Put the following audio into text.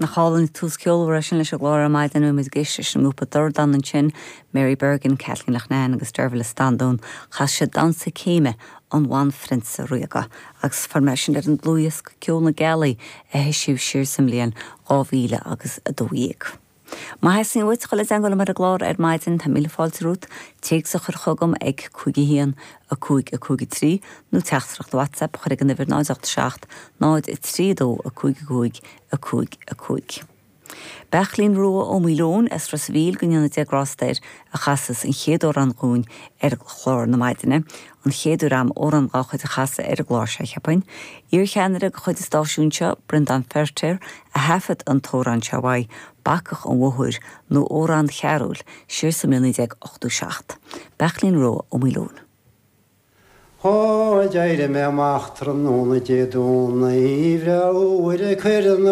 Nach álainn tús ceolmhar é sin leis an gclár ar maidin, bhí muid ag éisteacht leis an ngrúpa Dordán ansin, Mary Bergin, Kathleen Loughnane agus Deirbhile Standún. Chas siad Damhsa Céime an Bhanphrionsa Ríoga agus fuair mé sin ar an dlúthdhiosca Ceol na Gealaí a heisíodh siar sa mbliain 2000 agus 12. Má theastaíonn uait dul i dteagmháil liom ar an gclár ar maidin, tá míle fáilte romhat téacs a chur chugam ag 5 1 5 5 3 nó teachtaireacht WhatsApp a chur ag an uimhir 0 8 7 0 3 2 5 5 5 5. Beartlaín Rua Ó Maoileoin as Ros a' Mhíl, go ndéana Dia grásta air, a chasas an chéad amhrán dhúinn ar chlár na maidine, an chéad uair a'm amhrán dhá chuid a chasadh ar an gclár seo, cheapfainn. Iar-cheannaire de chuid an stáisiúin seo, Breandán Feirtéar, a thaifead an t-amhrán seo uaidh, Bacach an Bhóthair, nó Amhrán Chearúil, siar sa mbliain 1987. Beartlaín Rua Ó Maoileoin. Ó, d'éirigh mé amach tráthnóna Dé Domhnaigh bhreá fhuar ag cur na.